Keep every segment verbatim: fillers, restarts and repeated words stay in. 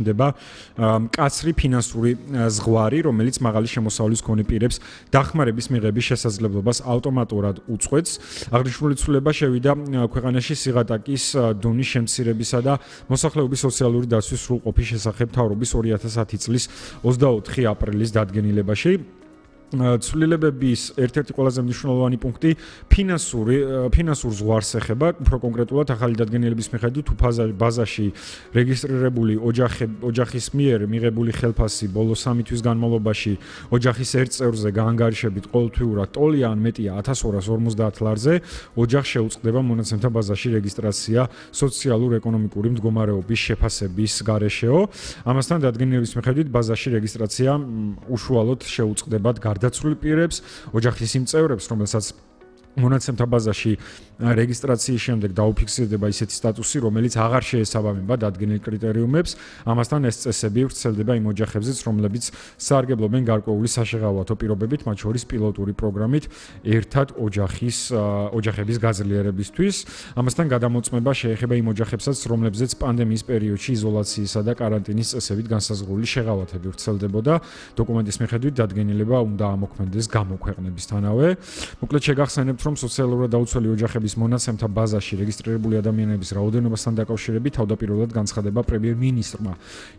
დება მკაცრი ფინანსური ზღვარი, რომელიც მაღალი შემოსავლის მქონე პირებს დახმარების მიღების შესაძლებლობას ავტომატურად უწყვეტს. აღნიშნული ცვლილება შევიდა ქვეყანაში სიღატაკის დონის შემცირებისა და მოსახლეობის სოციალური დაცვის სრულყოფის შესახებ მთავრობის ორი ათას ათი წლის ოცდაოთხი აპრილის დადგენილებაში. ცვლილებების ერთ-ერთი ყველაზე მნიშვნელოვანი პუნქტი ფინანსური ფინანსურ ზღვარს ეხება, უფრო კონკრეტულად ახალი დადგენილების მიხედვით ბაზაში რეგისტრირებული ოჯახის მიერ მიღებული ხელფასი ბოლო სამი თვის განმავლობაში ოჯახის ერთ წევრზე გაანგარიშებით ყოველთვიურად ტოლი ან მეტია ათას ორას ორმოცდაათ ლარზე ოჯახს შეუწყდება მონაცემთა ბაზაში რეგისტრაცია სოციალურ-ეკონომიკური მდგომარეობის შეფასების გარეშეო. ამასთან დადგენილების მიხედვით ბაზაში რეგისტრაცია უშუალოდ შეუწყდებათ დაცული პირებს, ოჯახის იმ წევრებს, რომელსაც მონაცემთა ბაზაში რეგისტრაციის შემდეგ დაუფიქსირდება ისეთი სტატუსი, რომელიც აღარ შეესაბამება დადგენილ კრიტერიუმებს. ამასთან ეს წესები ვრცელდება იმ ოჯახებზეც, რომლებიც სარგებლობენ გარკვეული საშეღავათო პირობებით, მათ შორის პილოტური პროგრამით ერთად ოჯახის ოჯახების გაძლიერებისთვის. ამასთან გადამოწმება შეეხება იმ ოჯახებსაც, რომლებზეც პანდემიის პერიოდში იზოლაციისა და კარანტინის წესებით განსაზღვრული შეღავათები ვრცელდებოდა. დოკუმენტის მიხედვით დადგენილება უნდა ამოქმედდეს გამოქვეყნებისთანავე. მოკლედ შეგახსენებთ, რომ სოციალურად დაუცველი ოჯახების მონაცემთა ბაზაში რეგისტრირებული ადამიანების რაოდენობასთან დაკავშირებით თავდაპირველად განცხადება პრემიერ-მინისტრმა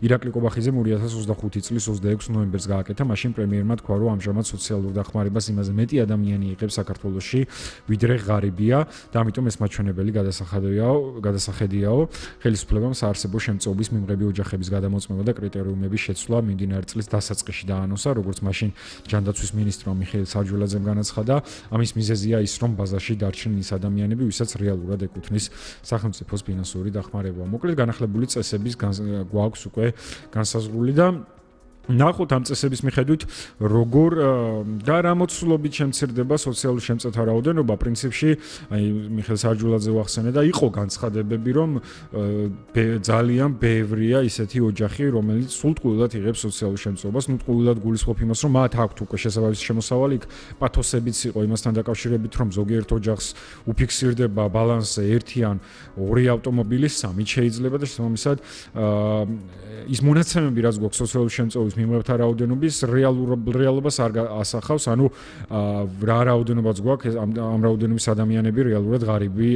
ირაკლი კობახიძემ ორი ათას ოცდახუთი წლის ოცდაექვსი ნოემბერს გააკეთა. მაშინ პრემიერმა თქვა, რომ ამჟამად სოციალურ დახმარებას იმაზე მეტი ადამიანი იღებს საქართველოში, ვიდრე ღარიბია და ამიტომ ეს მაჩვენებელი გადასახედიაო, გადასახედიაო ხელისუფლებამ საარსებო შემწეობის მიმღები ოჯახების გადამოწმება და კრიტერიუმების შეცვლა მიმდინარე წლის დასაწყისში დაანონსა, როგორც მაშინ ჯანდაცვის მინისტრმა მიხეილ საჯულაძემ განაცხადა. ამის მიზეზია ის, რომ ბაზაში დარჩნენ ის ადამიანები, ვისაც რეალურად ეკუთვნის სახელმწიფოს ფინანსური დახმარება. მოკლედ განახლებული წესების გვაქვს უკვე განსაზღვრული და ნახოთ ამ წესების მიხედვით როგორ და რა მოცულობით შემცირდება სოციალური შემწეთა რაოდენობა. პრინციპში აი მიხეილ საჯულაძე ვახსენე და იყო განცხადებები, რომ ძალიან ბევრია ისეთი ოჯახი, რომელიც სულტყუილად იღებს სოციალურ შემწეობას, ნუ ტყუილად გულისხმობ იმას, რომ მათ აქვთ უკვე შესაბამისი შემოსავალი, პათოსებიც იყო იმასთან დაკავშირებით, რომ ზოგიერთ ოჯახს უფიქსირდება ბალანსზე ერთი ან ორი ავტომობილი, სამი შეიძლება და შესაბამისად ის მონაცემები, რაც გვაქვს სოციალურ შემწეობის მიმღებთა რაოდენობის რეალობას არ ასახავს, ანუ რა რაოდენობაც გვაქვს, ამ რაოდენობის ადამიანები რეალურად ღარიბი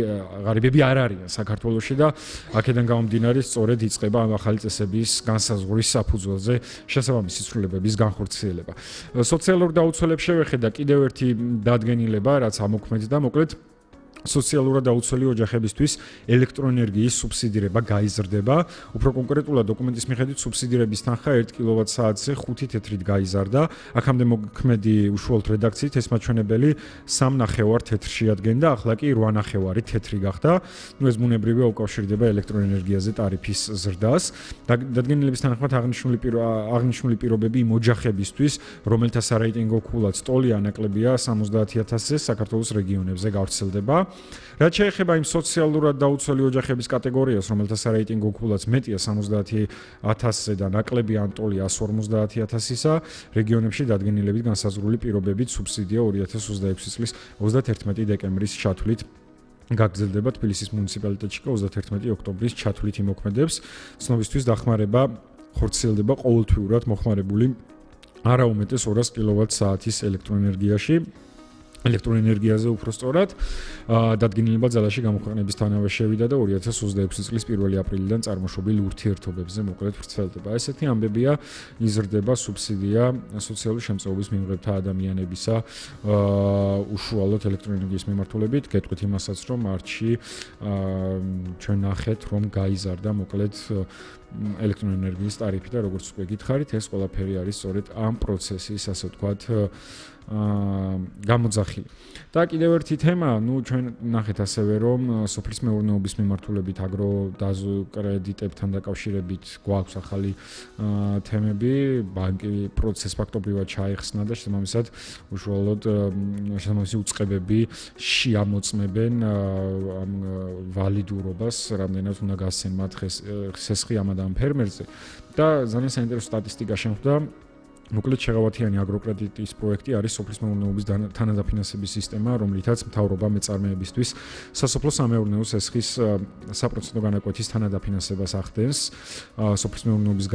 ღარიბები არ არიან საქართველოში და აქედან გამომდინარე სწორედ იწყება ამ ახალი წესების განსაზღვრის საფუძველზე შესაბამისი ცვლილებების განხორციელება. სოციალურ დაუცველებს შევეხედა კიდევ ერთი დადგენილება, რაც ამოქმედდა, მოკლედ სოციალურად დაუცველი ოჯახებისთვის ელექტროენერგიის სუბსიდირება გაიზრდება. უფრო კონკრეტულად დოკუმენტის მიხედვით სუბსიდირების თანხა ერთ კილოვატ-საათზე ხუთი თეთრით გაიზარდა. აქამდე მოქმედი უშუალოდ რედაქციით ეს მაჩვენებელი სამ ნახევარ თეთრში ადგენდა, ახლა კი რვა ნახევარი თეთრი გახდა. ნუ ეს ბუნებრივია უკავშირდება ელექტროენერგიაზე ტარიფის ზრდას. დადგენილების თანახმად აღნიშნული აღნიშნული პირობები იმ ოჯახებისთვის, რომელთა სარეიტინგო ქულაც ტოლი ან ნაკლებია სამოცდაათი ათასზე საქართველოს რეგიონებზე გავრცელდება. რაც შეეხება იმ სოციალურად დაუცველი ოჯახების კატეგორიას, რომელთა სარეიტინგო ქულაც მეტია სამოცდაათი ათასზე და ნაკლებია ან ტოლი ასი ორმოცდაათი ათასისა, რეგიონებში დადგენილებით განსაზღვრული პირობებით სუბსიდია ორი ათას ოცდაექვსი წლის ოცდათერთმეტი დეკემბრის ჩათვლით გაგრძელდება. თბილისის მუნიციპალიტეტში ოცდათერთმეტი ოქტომბრის ჩათვლით იმოქმედებს. ცნობისთვის დახმარება ხორციელდება ყოველთვიურად მოხმარებული არა უმეტეს ორას კილოვატ-საათის ელექტროენერგიაში. ელექტროენერგიაზე უფრო სწორად დადგენილება ძალაში გამოქვეყნებისთანავე შევიდა და ორი ათას ოცდაექვსი წლის პირველი აპრილიდან წარმოშობილ ურთიერთობებზე მოკლედ ვრცელდება. ესეთი ამბებია, იზრდება სუბსიდია სოციალური შემწეობის მიმღებთა ადამიანებისა უშუალოდ ელექტროენერგიის მიმართულებით. გეტყვით იმასაც, რომ მარტში ჩვენ ნახეთ, რომ გაიზარდა მოკლედ ელექტროენერგიის ტარიფი და როგორც უკვე გითხარით, ეს ყველაფერი არის სწორედ ამ პროცესის, ასე ვთქვათ, გამოძახილი. და კიდევ ერთი თემა, ნუ ჩვენ ნახეთ ასევე, რომ სოფლის მეურნეობის მიმართულებით აგროკრედიტებთან დაკავშირებით გვაქვს ახალი თემები, ბანკი პროცესს ფაქტობრივად ჩაეხსნა და შესაბამისად უშუალოდ შესაბამისი უწყებები შეამოწმებენ ამ ვალიდურობას, რამდენად უნდა გასცენ მათ ხესხი ამ ამ ფერმერზე და ძალიან საინტერესო სტატისტიკა შემხვდა. მოკლედ შეღავათიანი აგროკრედიტის პროექტი არის სოფლის მეურნეობის თანადაფინანსების სისტემა, რომლითაც მთავრობა მეწარმეებისთვის სასოფლო-სამეურნეო სესხის საპროცენტო განაკვეთის თანადაფინანსებას ახდენს. სოფლის მეურნეობის